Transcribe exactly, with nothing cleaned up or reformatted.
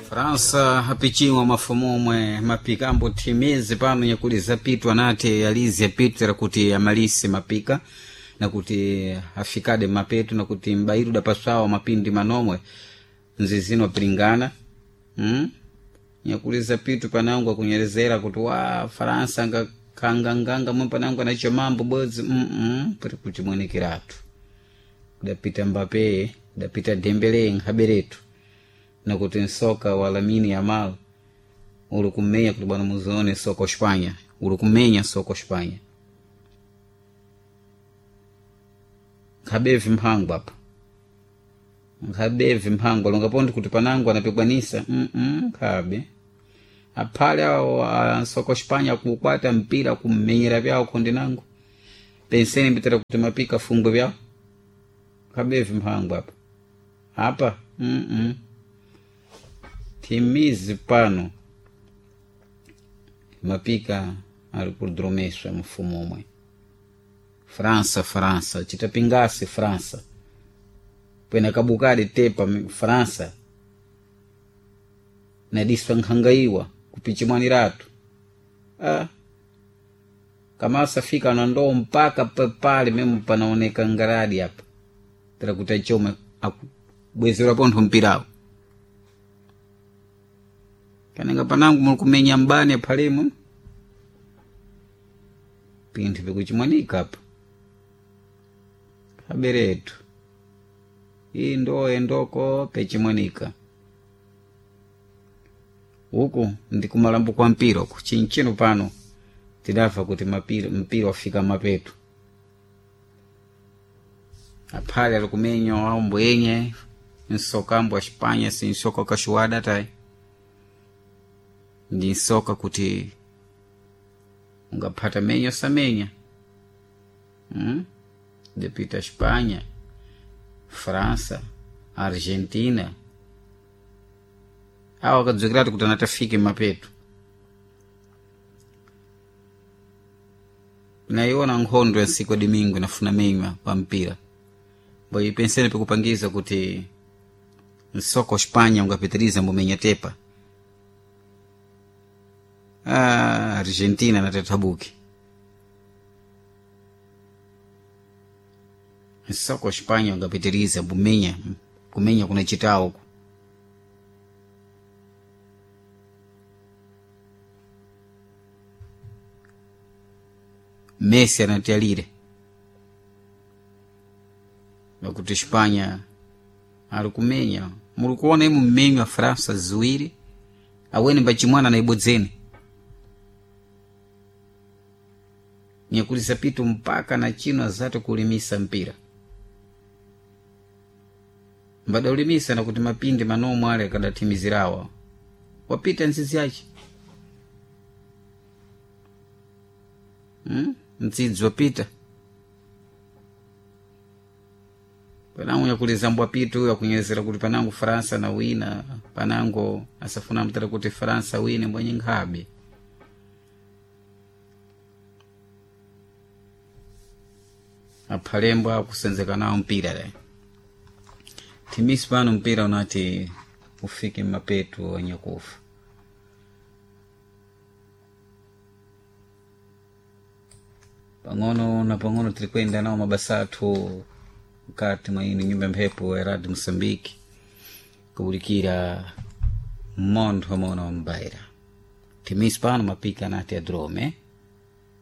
Fransa apichimwa mafumu omwe mapika ambothimizi pano nyakuli zapitwa nati alizi apitira kuti amalise mapika nakuti afikade mapeto nakuti m'bairu dapaswawa mapindi manomwe nzizino apiringana hmm? Nyakuli zapitu panangu akunyerezera kuti wa Faransa nga kanganganga mwe panangu anacho mambo bwezi mm -mm, pati kuti mwenekeratu kudapita Mbappe, kudapita Dembele nkhaberetu nakuti nsoka wa Lamine Yamal uli kumenya kuti bwana muzione soka Espanha uli kumenya soka Espanha nkhabevi mphango apa nkhabevi mphango longapondi kuti panango anapikwanisa mm -mm, nkhabe aphale awo ansoko Espanha kukwata mpira kummenyera vyawo khondi nango penseni mbitira kuti mapika fungwe vyawo nkhabevi mphango apa apa mm -mm. Timizi pano mapika ali kudromeswa mfumo omwe França, França, chitapingasi França pwena kabukadi tepa França nadiswa nkhangaiwa kupichimwaniratu ah. Kamasa fika na ndoo mpaka pepale memo panaoneka ngaradi apa tera kuti achome akubwezera pontho mpirawo kanenga panangu muli kumenya mbani aphalemo pinthu pikuchimwanika apa kaberetu iyi ndoye ndoko pechimwanika uku ndi kumalambo kwa mpira uku chinchino pano tidamva kuti mapira, mpira wafika mapeto aphale ali kumenya aumbo yenye nsoka ambo a Espanha si nsoka kashuwada tayi ndi nsoka kuti ungaphata menya osamenya hmm? Depita Espanha, França, Argentina awo akadzukiratu kuti anatafike mapeto naiona nkhondo ya nsiku ya domingo inafuna menywa pa mpira mbo ipensene pikupangiza kuti nsoko Espanha ungapitiriza mbomenya tepa ah, Argentina natethabuki nsoko Espanha ungapitiriza mbomenya kumenya kuna chitawo Messi anatialire nakuti Espanha ali kumenya muli kuona imu mmenyu wa França ziwiri aweni mbachimwana na ibodzeni nyakulisa pitu mpaka na chino azati kulimisa mpira mbadaulimisa nakuti mapindi manomwe ale akadathimizirawa wapita nzizi yace hmm? Mdzidzi wapita panango nyakulizambwa pitu uyo akunyezera kuti panango França na wina panango asafuna mtera kuti França wine mbwenye nkhabe aphalembwa akusenzeka nawo mpira le thimisi pano mpira unati ufike mmapeto anyakufa pang'ono na pang'ono tiri kuyenda nawo mabasa athu mkati mwa ino nyumba ya mphepo ya radio Moçambique kubulikira mmontho mono wa mbaira thimisi pano mapika anati adrome.